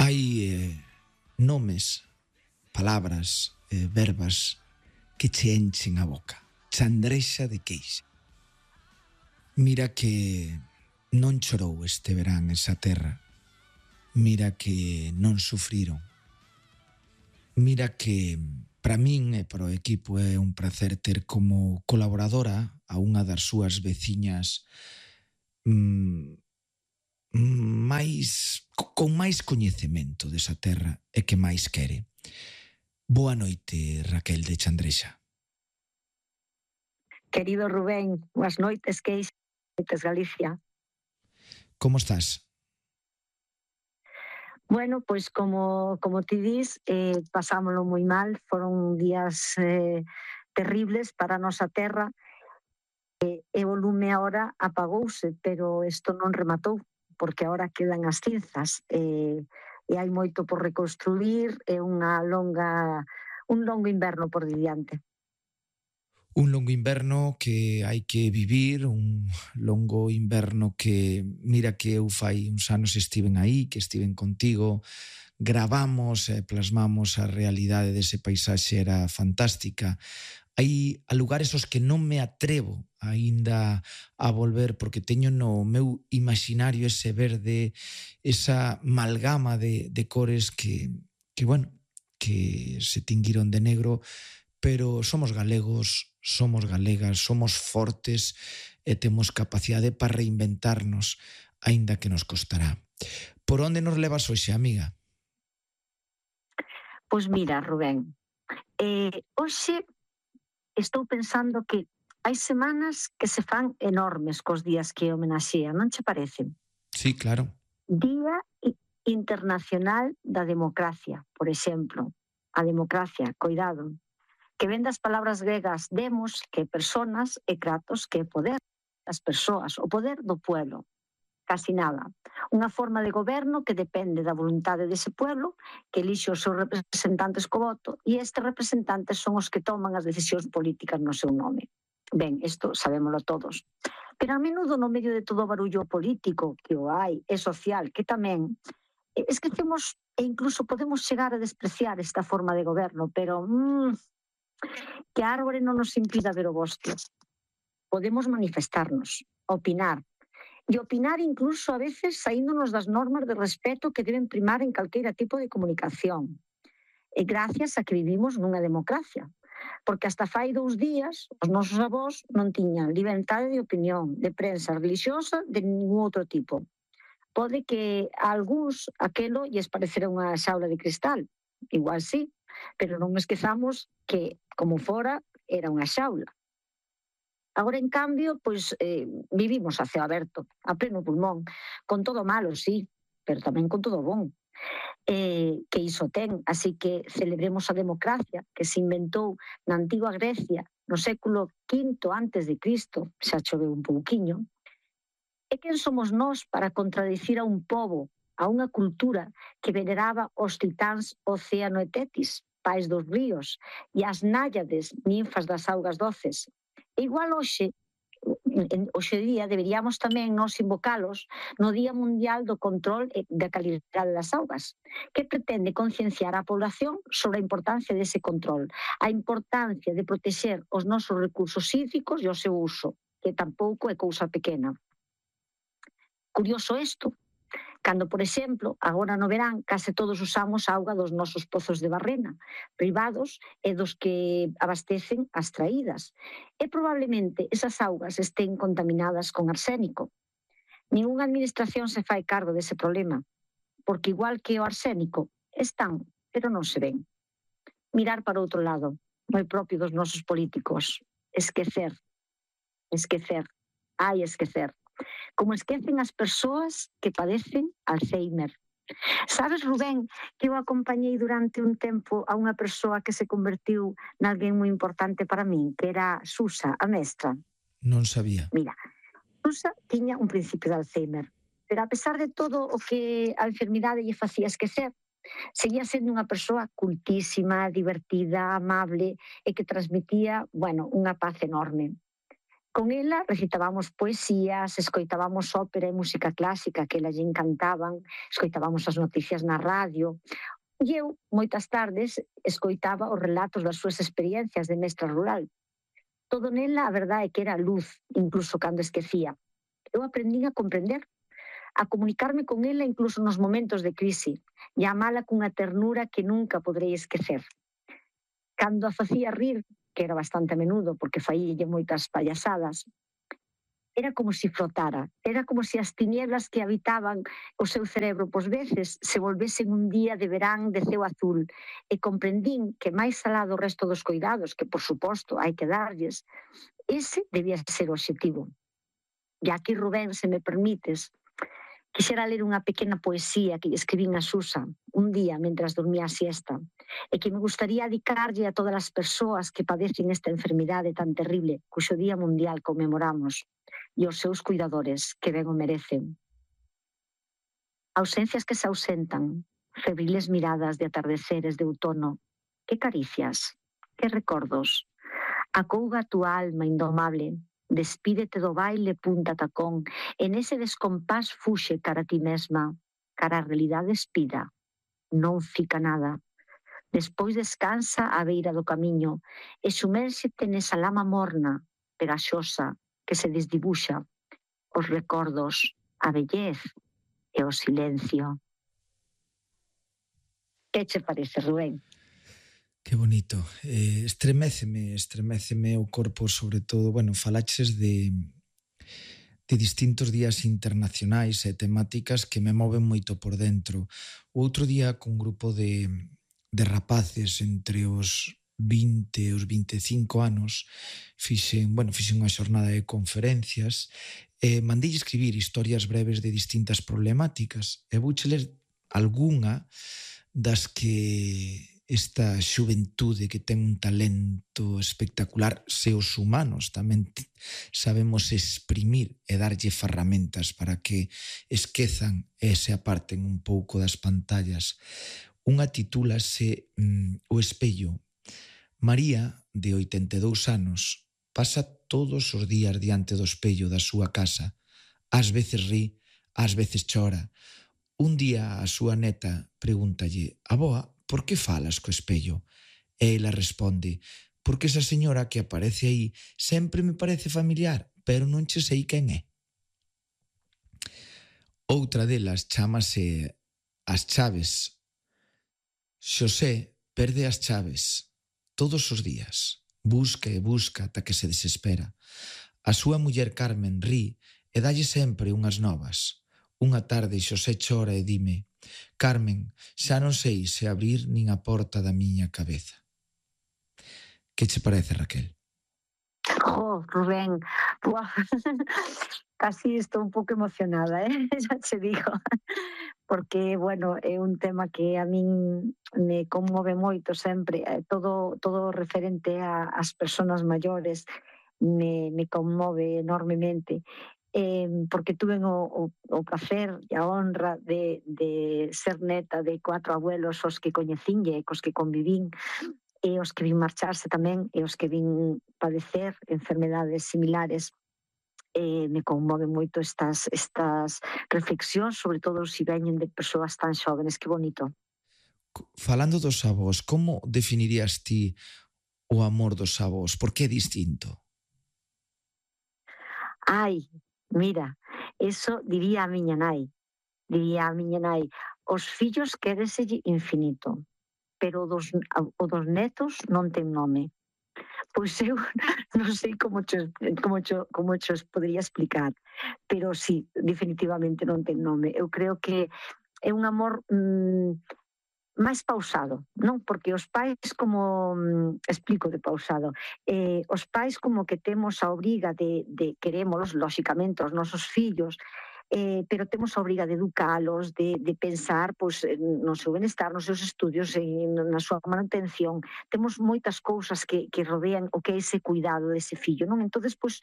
Hai nomes, palabras, verbas que che enchen a boca. Chandrexa de queixa. Mira que non chorou este verán esa terra. Mira que non sufriron. Mira que para min e para o equipo é un placer ter como colaboradora a unha das súas veciñas con máis coñecemento desa terra e que máis quere. Boa noite, Raquel de Chandrexa. Querido Rubén, boas noites, queixas, noites Galicia. Como estás? Bueno, pois como ti dis, pasámoslo moi mal, foron días terribles para a nosa terra, e o lume agora apagouse, pero isto non rematou, porque agora quedan as cinzas, e hai moito por reconstruir, e un longo inverno por diante. Un longo inverno que hai que vivir, un longo inverno que, mira que eu fai uns anos estiven aí, que estiven contigo, gravamos e plasmamos a realidade dese paisaxe, era fantástica. Hai lugares aos que non me atrevo aínda a volver porque teño no meu imaginario ese verde, esa amalgama de cores que se tinguiron de negro, pero somos galegos, somos galegas, somos fortes e temos capacidade para reinventarnos, aínda que nos costará. Por onde nos levas hoxe, amiga? Pois mira, Rubén, hoxe estou pensando que hai semanas que se fan enormes cos días que homenaxean, non che parece? Sí, claro. Día Internacional da Democracia, por exemplo. A democracia, coidado, que ven das palabras gregas demos, que personas, e kratos, que é poder das persoas, o poder do pueblo. Casi nada. Unha forma de goberno que depende da voluntade dese pueblo, que elixe os seus representantes co voto, e estes representantes son os que toman as decisións políticas no seu nome. Ben, isto sabémolo todos. Pero a menudo no medio de todo o barullo político que o hai, e social, que tamén, esquecemos e incluso podemos chegar a despreciar esta forma de goberno, pero que a árbore non nos impida ver o bosque. Podemos manifestarnos, opinar, e opinar incluso a veces saíndonos das normas de respeto que deben primar en calqueira tipo de comunicación. E gracias a que vivimos nunha democracia, porque hasta fai 2 días os nosos avós non tiñan liberdade de opinión, de prensa religiosa, de ningún outro tipo. Pode que a algúns aquelo lles parecerá unha xaula de cristal, igual sí, pero non esquezamos que, como fora, era unha xaula. Agora, en cambio, pois vivimos a ceo aberto, a pleno pulmón, con todo malo, sí, pero tamén con todo bon. Que iso ten, así que celebremos a democracia que se inventou na antiga Grecia no século V antes de Cristo, xa choveu un pouquiño. E quen somos nós para contradicir a un pobo, a unha cultura que veneraba os titáns Océano e Tetis, pais dos ríos, e as náyades, ninfas das augas doces. E igual hoxe día deberíamos tamén nos invocalos no Día Mundial do Control da Calidade das Augas, que pretende concienciar a población sobre a importancia dese control, a importancia de protexer os nosos recursos hídricos e o seu uso, que tampouco é cousa pequena. Curioso isto, cando, por exemplo, agora no verán, case todos usamos a auga dos nosos pozos de Barrena, privados e dos que abastecen as traídas. E probablemente esas augas estén contaminadas con arsénico. Ninguna administración se fai cargo dese problema, porque igual que o arsénico, están, pero non se ven. Mirar para outro lado, moi propio dos nosos políticos. Esquecer. Como esquecen as persoas que padecen Alzheimer. Sabes, Rubén, que eu acompañei durante un tempo a unha persoa que se convertiu nalguén moi importante para min, que era Susa, a mestra. Non sabía. Mira, Susa tiña un principio de Alzheimer, pero a pesar de todo o que a enfermidade lle facía esquecer, seguía sendo unha persoa cultísima, divertida, amable e que transmitía, unha paz enorme. Con ela recitábamos poesías, escoitábamos ópera e música clásica que ela lle encantaban, escoitábamos as noticias na radio, e eu, moitas tardes, escoitaba os relatos das súas experiencias de mestra rural. Todo nela, a verdade é que era luz, incluso cando esquecía. Eu aprendín a comprender, a comunicarme con ela incluso nos momentos de crise, e a amala cunha ternura que nunca poderei esquecer. Cando a facía rir, que era bastante a menudo, porque faílle moitas payasadas, era como se flotara, era como se as tinieblas que habitaban o seu cerebro pos veces se volvesen un día de verán de ceo azul, e comprendín que máis alá do resto dos cuidados, que por suposto hai que darlles, ese debía ser o obxectivo. E aquí, Rubén, se me permites, quixera ler unha pequena poesía que escribín a Susa un día mentras dormía a siesta, e que me gustaría dedicarlle a todas as persoas que padecen esta enfermidade tan terrible, cuxo Día Mundial conmemoramos, e os seus cuidadores, que ben o merecen. Ausencias que se ausentan, febriles miradas de atardeceres de outono, que caricias, que recordos. Acouga a túa alma indomable, despídete do baile punta tacón, e nese descompás fuxe cara a ti mesma, cara a realidade espida. Non fica nada. Despois descansa á beira do camiño e sumérxete nesa lama morna, pegaxosa, que se desdibuxa. Os recordos, a vellez e o silencio. Que che parece, Rubén? Que bonito. Estreméceme o corpo, sobre todo, bueno, falaches de distintos días internacionais e temáticas que me moven moito por dentro. O outro día, cun grupo de rapaces entre os 20 e os 25 anos, fixen unha xornada de conferencias e mandei escribir historias breves de distintas problemáticas e vouche ler algunha das que esta xuventude que ten un talento espectacular, se os humanos tamén sabemos exprimir e darlle ferramentas para que esquezan e se aparten un pouco das pantallas. Unha titúlase O espello. María, de 82 anos, pasa todos os días diante do espello da súa casa. Ás veces ri, ás veces chora. Un día a súa neta pregúntalle: «Avoa, por que falas co espello?» E ela responde: «Porque esa señora que aparece aí sempre me parece familiar, pero non che sei quen é». Outra delas chámase As chaves. Xosé perde as chaves todos os días. Busca e busca ata que se desespera. A súa muller Carmen ri e dalle sempre unhas novas. Unha tarde Xosé chora e dime: «Carmen, xa non sei se abrir nin a porta da miña cabeza». Que che parece, Raquel? Rubén, casi estou un pouco emocionada, xa che digo, porque, bueno, é un tema que a min me conmove moito sempre, todo referente ás persoas maiores me conmove enormemente, porque tuve o placer e a honra de ser neta de 4 abuelos os que coñecinlle e cos que convivín, e os que vin marcharse tamén, e os que vin padecer enfermedades similares. Me conmoven moito estas reflexións, sobre todo se veñen de persoas tan xóvenes. Que bonito. Falando dos avós, como definirías ti o amor dos avós? Por que é distinto? Ai, mira, eso diría a miña nai. Os fillos quéreselle infinito, pero o dos netos non ten nome. Pois eu non sei como cho podería explicar, pero sí, definitivamente non ten nome. Eu creo que é un amor máis pausado, non? Porque os pais como, explico de pausado, os pais como que temos a obriga de querémolos, lóxicamente, os nosos fillos, pero temos a obriga de educalos, de pensar pois, no seu benestar, nos seus estudios, na súa manutención. Temos moitas cousas que rodean o que é ese cuidado dese fillo, non? Entonces, pois,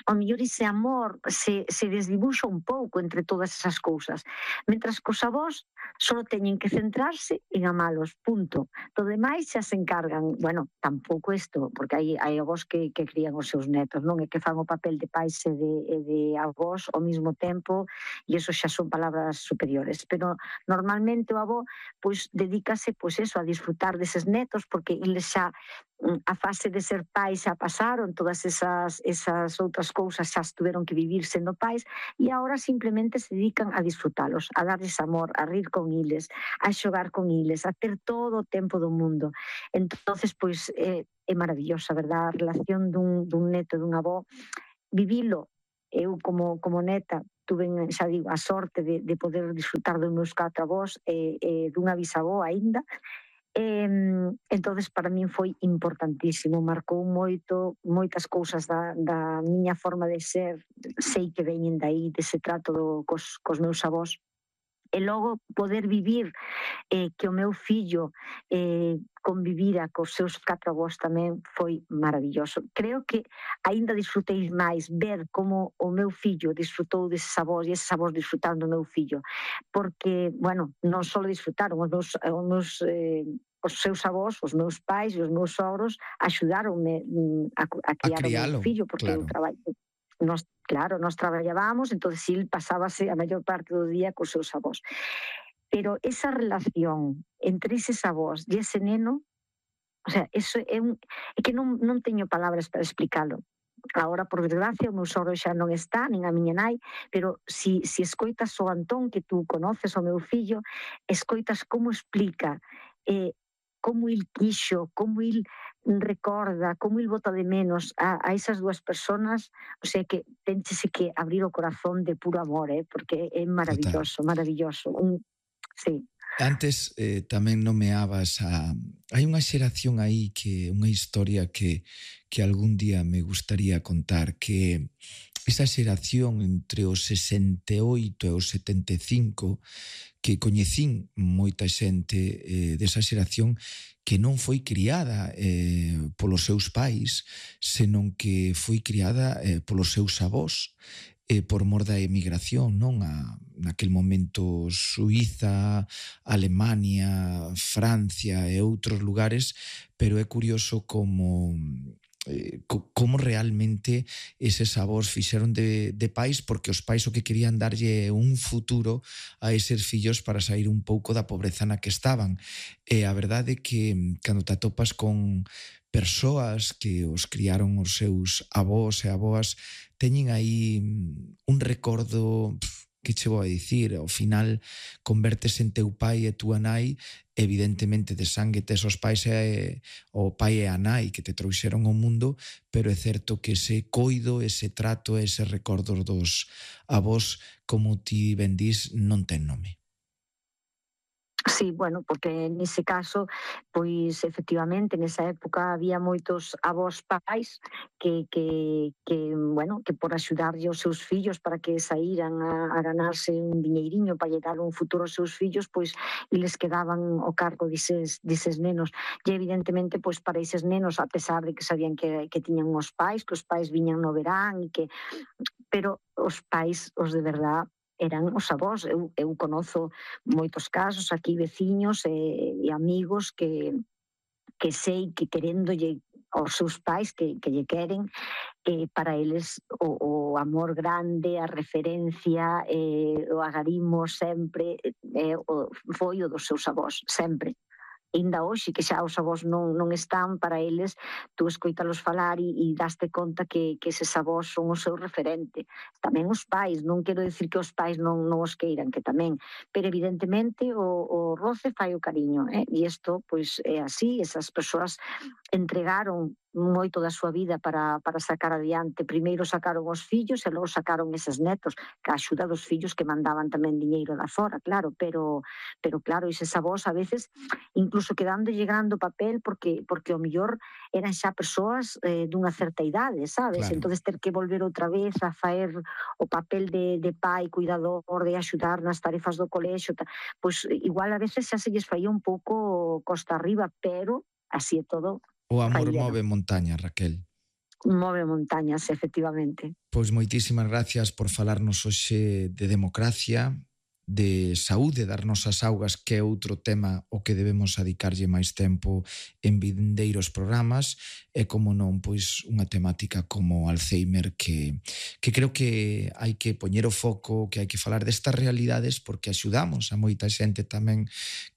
ao mellor ese amor se desdibuxa un pouco entre todas esas cousas. Mentras que os avós, Solo teñen que centrarse en amalos, punto. Todo demais xa se encargan, bueno, tampouco isto, porque hai avós que crían os seus netos, non é que fan o papel de pais e de avós ao mesmo tempo, e eso xa son palabras superiores, pero normalmente o avó pois dedícase pois eso, a disfrutar deses netos, porque eles xa a fase de ser pais xa pasaron, todas esas outras cousas xa estuveron que vivir sendo pais, e agora simplemente se dedican a disfrutalos, a darles amor, a rir con iles, a xogar con iles, a ter todo o tempo do mundo. Entonces, pois, é maravillosa, verdad? A relación dun neto e dun avó, vivilo. Eu como neta tuve, xa digo, a sorte de poder disfrutar dos meus 4 avós e dunha bisavó aínda. Entonces para min foi importantísimo, marcou moitas cousas da miña forma de ser, sei que veñen daí, dese trato cos meus avós. E logo poder vivir que o meu fillo convivira cos seus 4 avós tamén foi maravilloso. Creo que aínda disfrutei máis ver como o meu fillo disfrutou deses avós e eses avós disfrutaron do meu fillo, porque, bueno, non só disfrutaron os seus avós, os meus pais e os meus sogros axudáronme a criar o meu fillo, porque claro. eu traballo. Nós traballábamos, entón il pasábase a maior parte do día cos seus avós. Pero esa relación entre eses avós e ese neno, o sea, eso é que non teño palabras para explicalo. Agora, por desgracia, o meu sogro xa non está, nin a miña nai, pero si escoitas o Antón, que tú conoces, o meu fillo, escoitas como explica como il quixo, como il recorda, como il bota de menos a esas dúas personas, o sea que tenchese que abrir o corazón de puro amor, porque é maravilloso, maravilloso. Sí. Antes tamén nomeabas hai unha xeración aí, que unha historia que algún día me gustaría contar, que esa xeración entre os 68 e os 75, que coñecín moita xente desa xeración que non foi criada polos seus pais, senón que foi criada polos seus avós, por mor da emigración, non? Naquel momento Suíza, Alemania, Francia e outros lugares, pero é curioso como realmente eses avós fixeron de pais, porque os pais o que querían darlle un futuro a eses fillos para sair un pouco da pobreza na que estaban. E a verdade é que cando te atopas con persoas que os criaron os seus avós e avoas, teñen aí un recordo, que che vou a dicir, ao final convertes en teu pai e túa nai, evidentemente de sangue tes os pais o pai e a nai que te trouxeron ao mundo, pero é certo que ese coido, ese trato, ese recordo dos avós, como ti ben dís, non ten nome. Sí, bueno, porque nese caso, pois efectivamente, nesa época había moitos avós pais que bueno, que por axudarlle os seus fillos para que saíran a ganarse un diñeiriño para lle dar un futuro aos seus fillos, pois eles quedaban ao cargo dises nenos. E evidentemente, pois para eses nenos, a pesar de que sabían que tiñan os pais viñan no verán, pero os pais, os de verdad, eran os avós. Eu conozo moitos casos aquí, veciños e amigos que sei que queréndolle aos seus pais que lle queren, para eles o amor grande, a referencia, o agarimo sempre foi o dos seus avós, sempre. Ainda hoxe, que xa os avós non están, para eles, tú escoitalos falar e daste conta que eses avós son o seu referente. Tamén os pais, non quero dicir que os pais non os queiran, que tamén, pero evidentemente o roce fai o cariño, e isto, pois, é así. Esas persoas entregaron moito da súa vida para sacar adiante. Primeiro sacaron os fillos e logo sacaron eses netos, que a axuda dos fillos que mandaban tamén diñeiro da fora, claro, pero claro, eses avós a veces incluso quedándolle grande o papel, porque o mellor eran xa persoas dunha certa idade, sabes? Claro. Entonces ter que volver outra vez a faer o papel de pai, cuidador, de axudar nas tarefas do colexio, pois igual a veces xa se lles faía un pouco costa arriba, pero así é todo. O amor move montañas, Raquel. Move montañas, efectivamente. Pois moitísimas gracias por falarnos hoxe de democracia, de saúde das nosas augas, que é outro tema o que debemos adicarlle máis tempo en vindeiros programas, e como non, pois unha temática como Alzheimer que creo que hai que poñer o foco, que hai que falar destas realidades porque axudamos a moita xente tamén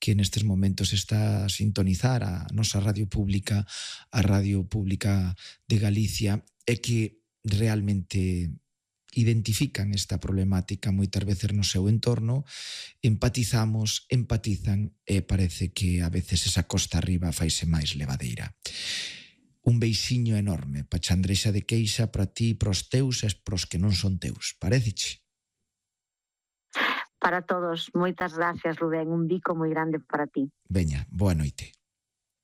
que nestes momentos está a sintonizar a nosa radio pública, a Radio Pública de Galicia, e que realmente identifican esta problemática moitas veces no seu entorno, empatizan e parece que a veces esa costa arriba faise máis levadeira. Un beixiño enorme pa Chandrexa de Queixa, para ti, pros teus e pros que non son teus. Paréceche? Para todos, moitas gracias, Rubén. Un bico moi grande para ti. Veña, boa noite.